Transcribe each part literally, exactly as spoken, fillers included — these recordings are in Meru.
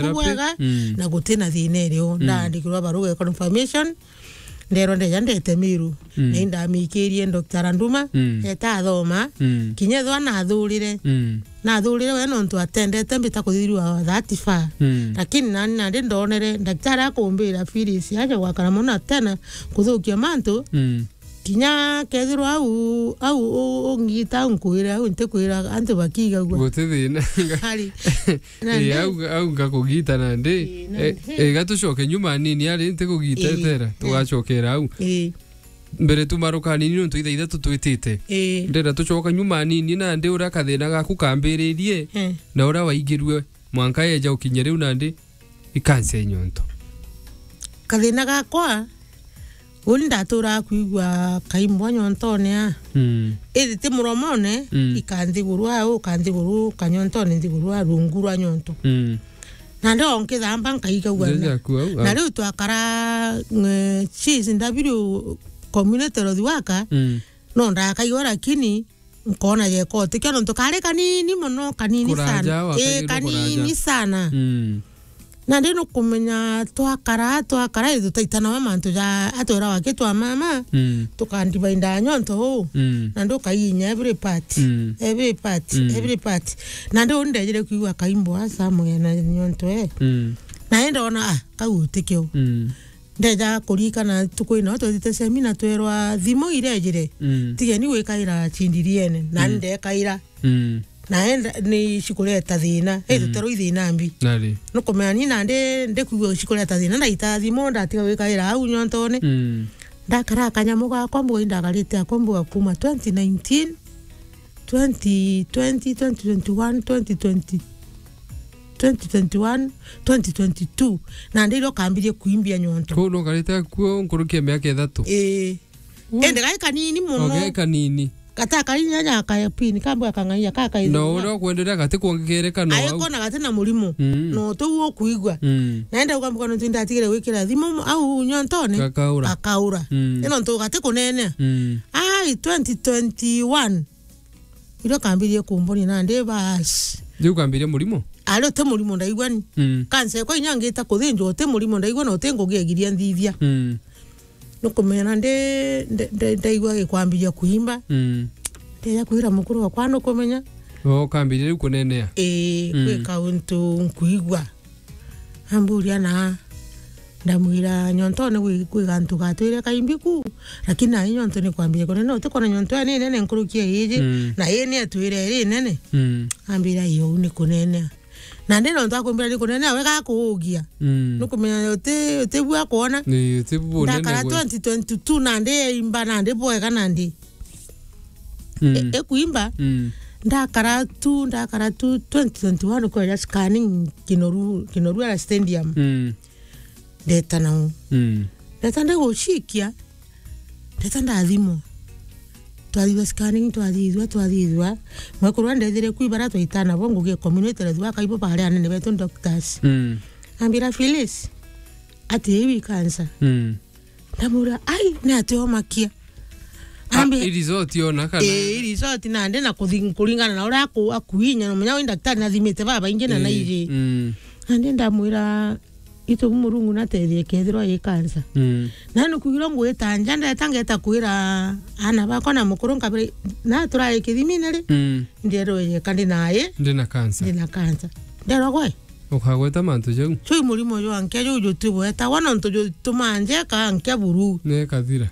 Therapy. Bwega, mm, na gutina thina irio. Mm. Ndaandikirwa baruga ya confirmation, nderwa ndeja ndete Miru. Mm. Na indamikirie Doctor Randuma, mm, eta athoma. Mm. Kinya ethwa nathurire. Mm. Nathurire we nontu atendete mbita kuthithirwa that far. Mm. Lakini nani nandi ndonere, daktari akumbira, Phyllis, aja gwakara mono tena kuthukia mantu. Mm. Kinya kethirwa au, au u-, ungita, au nkwira, au ntikwira antu bakigagua. Guti thina. Hari. Na Ii, ndi- au, au ngakugita nandi. Ii, na Eh, ndi- eh, gatucoke nyuma nini ari ntikugita Ii, etera, eh. Tugacokera au. Ii. Mbere tumaruka nini nontu itha ithatu twitite. Ii. Ndenda tucoka nyuma nini nandi uria kathina gaku kambiririe, Eh. na uria waigirue mwanka eja ukinye riu nandi. Ikansia nyonto. Kathina gakwa, uni ndaturaga kwigua kaimbwa nyontone a. Mm. Indi ti muromone, Mm. ikanthigurwa au, kanthiguru kanyontone nthigurwa rungu rwa nyonto. Mm. Na ndio nkithamba nkaigagua Ndio na. Jaku au, Na au. Riu twakara, eh, cheese ndabiru community health worker, Mm. no ndakaigua lakini nkona jeka utikio nontu kari kanini mono, kanini Kuraja sana. Ii, wakagirwa kanini kuraja. Sana. Mm. Na ndi nukumenya twakara, twakara, ii, tutaitanawa mantu ja atwira wake twa mama, Mm. tukandivainda nyonto uu. Mm. Na ndukainya every part. Mm. Every part, Mm. every part. Na ndi uu ndejire kwigua kaimbo asa moya na nyonto ee. Mm. Na ii ndona, ah, kau utikio. Mm. Ndeja kurikana tuku ino twethite semina twerwa thimu irejire. Mm. Tigeni gwikaira chindiriene. Na Mm. Ndekaira. Mm. Na enda ni cikureta thina. Mm. Ituterwa ithina mbi. Nari. Nukumenya ni nandi ndikwigua cikureta thina. Ndaita thimu ndatiga gwikaira au nyontone. Mm. Ndakara kanyamu gakwa mbuga indagarite akwa mbuga kuma twenty nineteen, twenty twenty, twenty twenty-one, twenty twenty, twenty twenty-one, twenty twenty-two. Na ndiro kambirie kuimbia nyonto. Kuu nukarite kuo nkuruki ya miaka ithatu? Ii. Uu. Indi gai kanini mono. O, gai kanini. Gata kainya nyakaya pini, kambu akang'aia kakaithirwa. No uria ukwenderea gati kwongekereka no au. Aikona gati na murimo. Mm. No tou ukuigua. Mm. Naenda ukambuka nontu ndatigire gwikira thimu au nyontone. Gakaura. Gakaura. Mm. Ino ntu gati kunenea. Mm. Ai, twenty twenty-one. Irio kambirie kumboni nandi basi. Riu kambirie murimo? Ari uti murimo ndaigua ni. Mm. Kansa ekwa inya ngita kuthinjwa uti murimo ndaigua na uti ngugi egiria nthithia. Mm. Nukumenya ndi, ndi, ndi, ndaigua gikwambiria kuimba. Mm. Ndeja kwira mukuru wakwa nukumenya. O, kambiria riu kunenea? Ii, Mm. gwika untu nkuigua. Amburia na ndamwira nyontone gwi, gwi gantu gatwire kaimbi ku, lakini nai nyonto ni kwambiria kunene, utikona nyonto ya ni nene nkuruki ya iji, Mm. na ii ni etwire iri nene. Mm. Ambira iyo ni kunene. Na ndi nontu akumbira ni kunene, we gakuugia. Mm. Nukumenya uti, uti bua kuona. Ni, uti bua unene Ndakara gwe. twenty twenty-two na ndi imba na ndi bwega na ndi. Mm. E, e kuimba. Mm. Ndakara tu, ndakara tu twenty twenty-one kweja scanning Kinoru, Kinoru ara stadium. Mm. Ndeta nao. Mm. Ndeta ndigucikia. Ndeta ndathimwa. Twathithwa scanning, twathithwa, twathithwa. Mwekuru ndethire kuibara twaitana bo ngugi community thwa kaibo bare anene betu doctors. Mm. Ambira Phyllis, ati iwi cancer. Mm. Ndamwira, "Ai, ni atia omakia?" Ah, Ambi- i result yona kana? Ii, i result nandi na kuthi-, kuringana na uria aku-, akuinya, na munya wi daktari nathimite babaingi na Ii, naiji. Mm. Nandi ndamwira, "Itu Murungu natethie kethirwa i cancer." Mm. Na nukwigirwa ngwita nja, ndeta ngeta kwira ana bakwa na mukuru nkabira, na turari kithimine ri? Mm. Nderwe yeka ndi naye. Ndi na cancer. Ndi na cancer. Nderwa gwe? Ukagweta mantu jau. Cui murimo jwa nkia juu jutibwetagwa nontu jutumaa njeka nkia buru. Nekathira.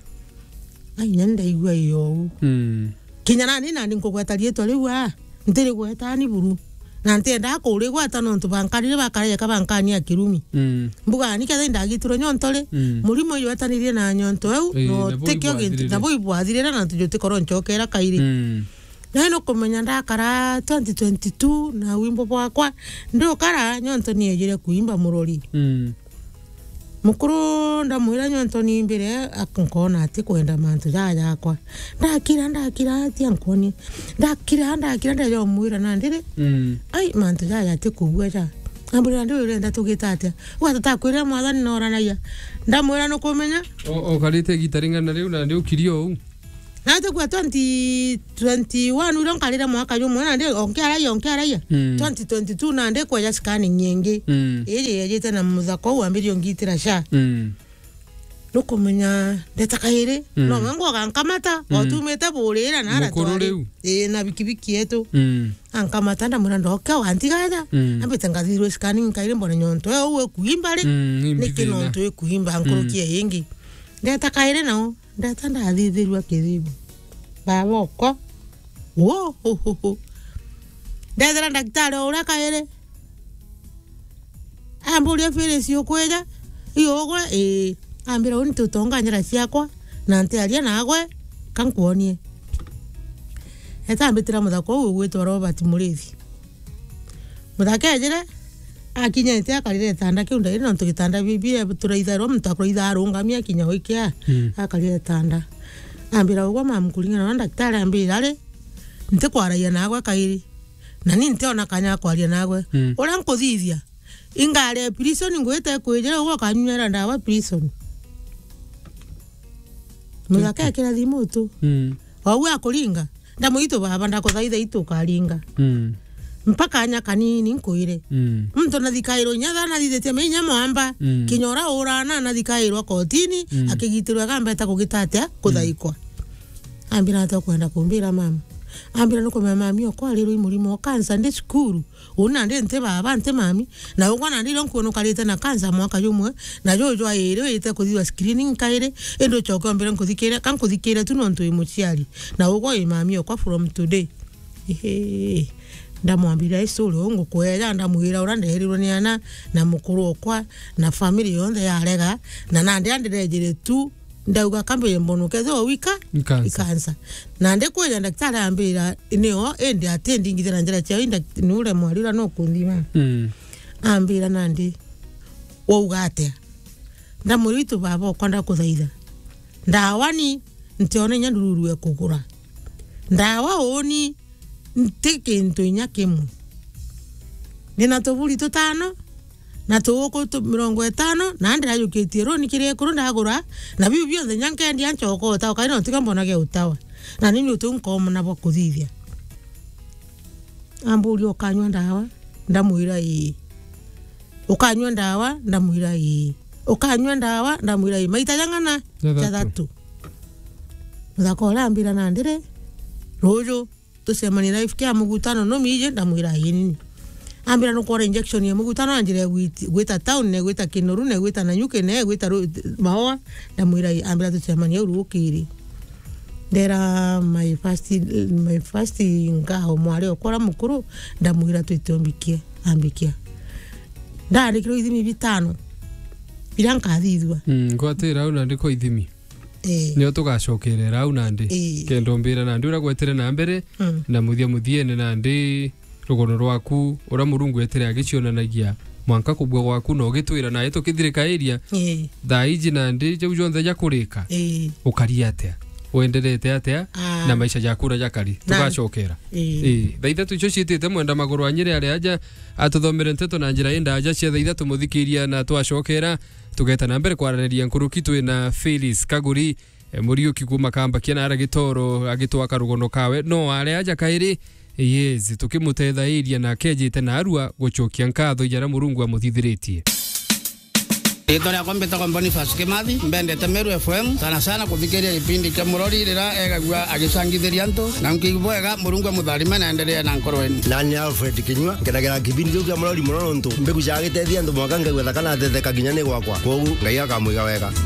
Ai, nya ndaigua iyo uu. Mm. Kinya nani nani nkugweta riitwa riu aa, ntirigweta ni buru. Na ntiendaa kurigweta nontu bankarire bakarejeka bankania kirumi. Mm. Mbuga ni ketha indagitirwe nyonto ri, Mm. murimo ijwetanirie na nyonto eu, Ii, no nabo tikio gintu, ibwathirire. Nabo ibwathirire na ntu jutikorwo ncokera kairi. Mm. Na nukumenya ndakara twenty twenty-two na wimbo bwakwa, ndukara nyonto niejire kuimba murori. Mm. Mukuru ndamwira nyonto nimbire, ak-, nkona ati kwenda mantu jaa jakwa. Ndakira, ndakira, ati ankonie. Ndakira, ndakira, ndeja umwira nandi ri, Mm. ai, mantu jaa jati kubua ja. Ambwira, "Ndi urenda tugita atia?" Uga, "Tutakwirire mwathani noranagia." Ndamwira, "Nukumenya?" O, ukarite igita ring'ana riu nandi ukirie uu? Na tukua twenty twenty-one uria nkarire mwaka jumwe, nandi onkiaraia, onkiaraia. Mm. Twenty twenty-two nandi kweja scanning ingi. Mm. Iji yejite na muthaka uu wambirie ungitira sha. Mm. Nukumenya ndeta kairi, mm, no mwe ngwa gankamata, mm, otumite burira na ara Mukuru twari. Riu. Ii, na bikibiki yetu. Mm. Ankamata ndamwira ndoke wantigaja. Mm. Ambite ngathithirwe scanning kairi mbone nyonto eu ikuimba ri. Mm, niki imbithina. Nontu ikuimba nkuruki, mm, ingi. Ndeta kairi nao, ndeta ndathithirwa kithibu. Baba okwa. Wo, ho, ho, ho. Ndethira ndagitari o uria kairi. Amburia, "Phyllis, ukwija? Ii ugwe?" Ii. Ambira, "Uni tutonga njira ciakwa, na ntiaria nagwe, ka nkwonie." Eta ambitira muthaka uu ugwitwa Robert Murithi. Muthaka ejire, akinyite akarire gitanda kiu ndairi, nontu gitanda bi-, bi-, turaithairwa muntu akuraitha arungami akinya wikia, mm, akarire gitanda. Ambira, "Ugwe mamu, kuringana na ndagitari ambira ri, ntikwaragia nagwe kairi." Na ni ntiona kanya ga kwaria nagwe. Mm. Uria nkuthithia, ingare prison, ngwite kwijira ugwe ukanywera ndawa prison. Muthaka ekira thimu tu. Mm. Ogu akuringa. Ndamwira, "Itu baba, ndakuthaitha itu ukaringa." Mm. Mpaka anya kanini nkwire. Mm. Muntu nathikairwo inya tha nathithitie me inya mwamba. Mm. Kinya uria urana nathikairwa kotini, mm, akigitirwa gambeta kugita atia? Kuthaikwa. Ambira, "Ati ukwenda kumbira mama?" Ambira, "Nukumenya mami okwa arirwe i murimo o cancer ndi cukuru. Uni nandi nti baba, nti mami. Na ugwa nandi irio nkwona ukarite na cancer mwaka jumwe. Na juju airi wite kuthithwa screening kairi. Indi ucoke ombire nkuthikire, ka nkuthikire tu nontu wi muciari. Na ugwa wi mami okwa from today." Ehe. Ndamwambira, "Icuri uu ngukweja," ndamwira uria nderirwe ni ana, na mukuru okwa, na family yonthe yarega, na nandi andirejire tu, ndauga, "Kambe mbona ukethirwa wika?" Ni cancer. Ni cancer. Nandi kwija ndagitari ambira, "Nio, indi ati ndingithira njira ciao, inda-, ni uria mwari uria nukunthima." Mm. Ambira, "Nandi, wauga atia?" Ndamwira, "Itu baba okwa ndakuthaitha. Ndawa ni, ntiona inya ndururu e kugura. Ndawa uni, nti kintu inya kimwe. Ndina tuburi tutano, na tuuku tu mirongo itano, na ndirajukitie runi kiri ikuru ndagura, na biu bionthe nya nkendia ncoka utawa, kairi nontu tiga mbona gia utawa. Na ni niuntu nkomona bwa kuthithia." Amburia, "Ukanyua ndawa?" Ndamwira, "Ii." "Ukanyua ndawa?" Ndamwira, "Ii." "Ukanyua ndawa?" Ndamwira, "Ii." Maita jang'ana? Jathatu. Jathatu. Muthaka uria ambira, "Nandi ri, ruju tucemanie live kia mugutano, no miji?" Ndamwira, "Ii, nini." Ambira, "Nukwona injection ya mugutano?" Anjire gwit-, gwita town, ne gwita Kinoru, ne gwita Nanyuki, ne gwita Ru-, Maua. Ndamwira, "Ii." Ambira, "Tucemanie au rukiri." Ndera my first, my first ngao mwari okwa uria mukuru, ndamwira, "Twite umbikie." Ambikia. Ndaandikirwe ithimi bitano biria nkathithua. Mm, ngwatira au nandi kwa ithimi. Ii. Nio tugacokerera au nandi. Ii. Kenda umbira nandi uria gwetere na mbere, mm, na muthia muthiene nandi rugono rwaku uria Murungu etere agicionanagia mwanka kubua gwaku na ugitwira nae tukithirikairia. Ii. Thaa iji nandi jau jonthe jakurika. Ii. Ukari atia? Wenderete atia? Ah. Na maisha jaku uria jakari? Na tugacokera. Ii. Ii. Thaa ithatu icio ciitite mwenda maguru anyire ari aja atuthomere nteto na njira indaja cia thaa ithatu muthikiria na twacokera. Tugeta na mbere kwaraniria nkuruki twi na Phyllis Kaguri, e, Muriuki kuuma Kambakia na ara Gitoro agitwaka rugono kawe. No are aja kairi, yes, tukimutethairia na akejite na arua gucokia nkatho jaria Murungu amuthithiritie. Riitwa riakwa mbitagwa Boniface Kimathi, mbendete Meru F M, sana sana kuthikiria gipindi kia Murori riria egagua agicangithiria antu, na nkiigua bwega, Murungu amutharime na endelee na nkoro enu. Nani Alfred Kinyua, nkenagira kipindi kiu kia Murori mono nontu mbigu cia gitethia antu mwanka ngaigua thaka na ateteka kinya ni gwakwa. Kwogu Ngai akamwiga wega.